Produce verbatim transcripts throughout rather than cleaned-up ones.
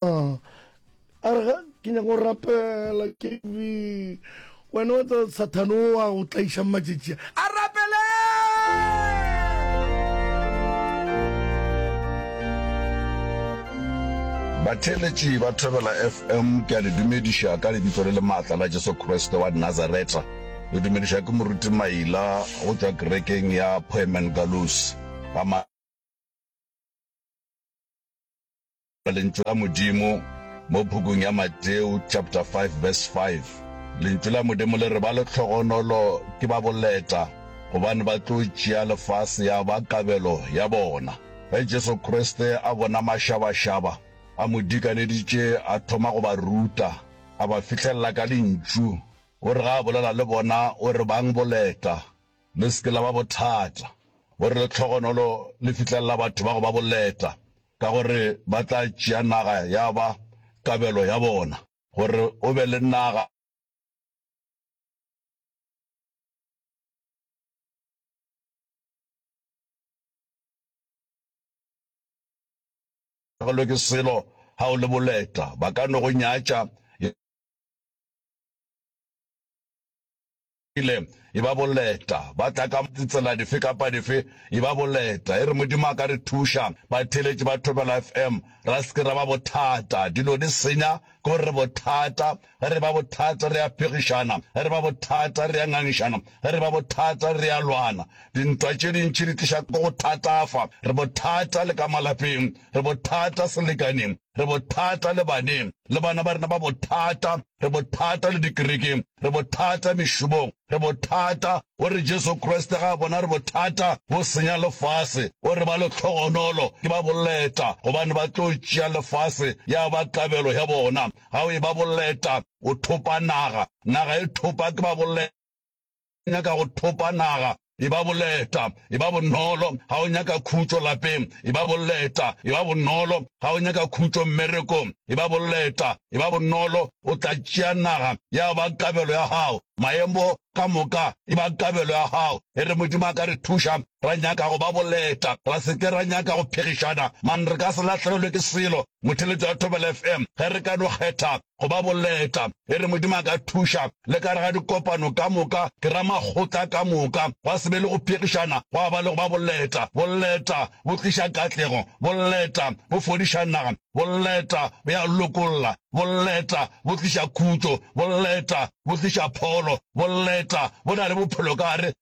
A re ga ke nyaka go rapela KB. Wena wa tseba Sathane o a go tlaiša matšatši a. A rapele! Batheeletši ba Thobela FM, ke a le dumediša ka lebitso le le maatla la Jesu Kriste wa Nazaretha. Le dumediša ke Moruti Maila go tšwa kerekeng ya Poemen Galus. Ga Lentšu la Modimo mo pukung ya Mateo chapter five verse five. Lentšu la Modimo le re ba lehlogonolo ke ba boleta, gobane ba tlo tšea lefase ya ba kabelo ya bona. Ge Jesu Kriste a bona mašabašaba a mo dikaneditše, a thoma go ba ruta, a ba fihlelela ka lentšu. O re ga a bolela le bona, o re, Bang boleta, Le se ke la ba bothata. O re lehlogonolo le fihlelela batho ba go ba boleta, ka gore ba tla tšea naga ya ba kabelo ya bona. Gore o be le naga. Lahlegelwe ke selo ga o le boleta, ba ka no go nyatša. Ile e ba boleta, ba tla ka ditsela dife kapa dife, e ba boleta. E re Modimo a ka re thuša, batheeletši ba Thobela FM, ra se ke ra ba bothata. Dilo di senya ke gore re bothata. Ge re ba bothata re a phegišana, ge re ba bothata re a ngangišana, ge re ba bothata re a lwana. Dintwa tše dintši di tliša ke go thatafa. Re bothata le ka malapeng, re bothata selekaneng, re bothata le baneng, le bana ba rena ba bothata. Re bothata le dikerekeng, re bothata mešomong, re bothata. O re Jesu Kriste ga a bona re bothata bo senya lefase, o re ba lehlogonolo ke ba boleta, gobane ba tlo tšea lefase ya ba kabelo ya bona. Ga o e ba boleta, o thopa naga, naga e thopa ke ba boleta. Nyaka go thopa naga, e ba boleta, e ba bonolo. Ga o nyaka khutšo lapeng, e ba boleta, e ba bonolo. Ga o nyaka khutšo mmerekong, e ba boleta, e ba bonolo. O tla tšea naga ya ba kabelo ya gago, maemo ka moka e ba kabelo ya gago. E re Modimo a ka re thuša, ra nyaka go ba boleta, ra se ke ra nyaka go phegišana, man re ka se lahlegelwe ke selo. Motheeletši wa Thobela FM, ge re ka no kgetha go ba boleta. E re Modimo a ka thuša, le ka re ga dikopano ka moka, ke ra makgotla ka moka, gwa se be le go phegišana, gwa ba le go ba boleta. Boleta bo tliša katlego, boleta bo fodiša naga, boleta bo ya lokolla, boleta bo tliša khutšo, boleta bo tliša pholo, boleta bo na le bophelo ka gare.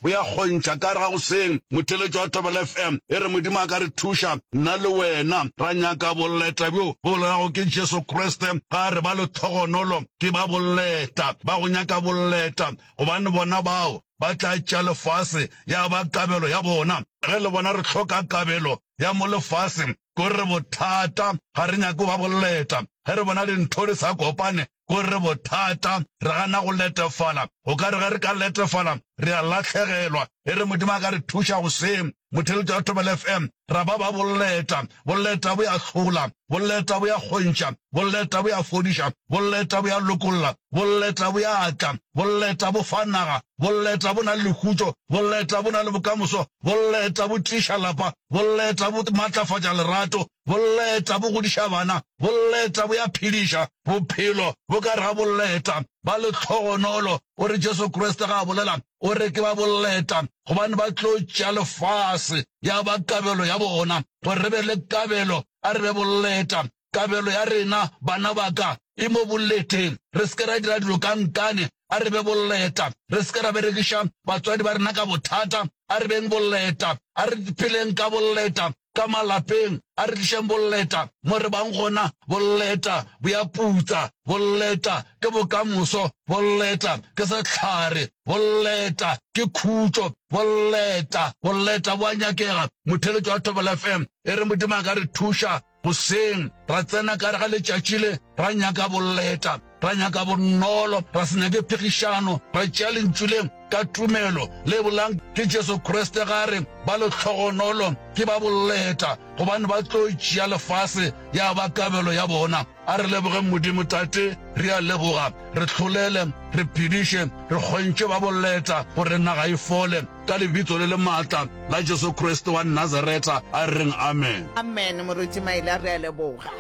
Bo ya kgontšha ka gare ga goseng. Motheeletši wa Thobela FM e re Modimo a ka re thuša, nna le wena, ra nyaka boleta bjo bo bolelago ke Jesu Kriste. Ga re ba lehlogonolo ke ba boleta, ba go nyaka boleta, gobane bona bao ba tla tšea lefase ya ba kabelo ya bona. Ge le bona re hloka kabelo ya mo lefaseng, ke gore re bothata, ga re nyake go ba boleta. Ge re bona dintho di sa kopane, Ko re bothata, re gana go letefala. O ka re ge re ka letefala, re a lahlegelwa. E re Modimo a ka re thuša goseng, motheeletši wa Thobela FM, ra ba ba boleta. Boleta bo ya hlola, boleta bo ya kgontšha, boleta bo ya fodiša, boleta bo ya lokolla, boleta bo ya tla, boleta bo fa naga, boleta bo na le lekhutšo, boleta bo na le bokamoso, boleta bo tiiša lapa, boleta bo matlafatša lerato, Boleta bo godiša bana, boleta bo ya phediša, bophelo bo ka re ga boleta. Ba lehlogonolo, o re Jesu Kriste ga a bolela, o re ke ba boleta, gobane ba tlo tšea lefase ya ba kabelo ya bona. Gore re be le kabelo, a re be boleta. Kabelo ya rena, bana ba ka, e mo boleteng. Re se ke ra dira dilo ka nkane, a re be boleta. Re se ke ra berekiša batswadi ba rena ka bothata, a re beng boleta. A re pheleng ka boleta. Ka malapeng, a re tlišeng boleta mo re bang gona. Boleta bo ya putsa, boleta ke bokamoso, boleta ke sehlare, boleta ke khutšo, boleta, boleta bo a nyakega. Motheeletši wa Thobela FM e re Modimo a ka re thuša goseng, ra tsena ka gare ga letšatši le, ra nyaka boleta, ra nyaka bonolo, ra se nyake phegišano, ra tšea Lentšu le ka tumelo le bolang ke Jesu Kriste ga re ba lehlogonolo ke ba boleta, gobane ba tlo tšea lefase ya ba kabelo ya bona. A re lebogeng Modimo. Tate, re a leboga. Re hlolele, re phediše, re kgontše ba boleta gore naga e fole, ka Lebitso le le maatla la Jesu Kriste wa Nazaretha, a re reng amen. Amen, Moruti Maila, re a leboga.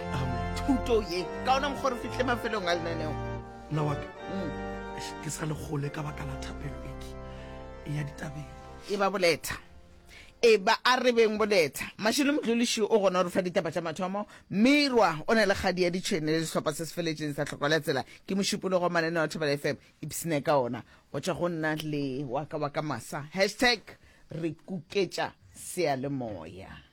Thuto ye, ka ona mokgwa re fihle mafelong a lenaneo. Nna wa ka, eish, ke sa le kgole ka baka la thapelo e ke e ya ditabeng. E ba boleta. E ba a re beng boleta. Mashilo Mdluli o gona go re fa ditaba tša mathomo. Mirwa o na le kgadi ya ditšhwene le sehlopha se se feletšeng sa Tlhoko la Tsela. Ke mošupologo wa mananeo a Thobela F M. Ipshine ka ona. Go tšwa go nna le wa ka wa ka masa. Hashtag re kuketša seyalemoya.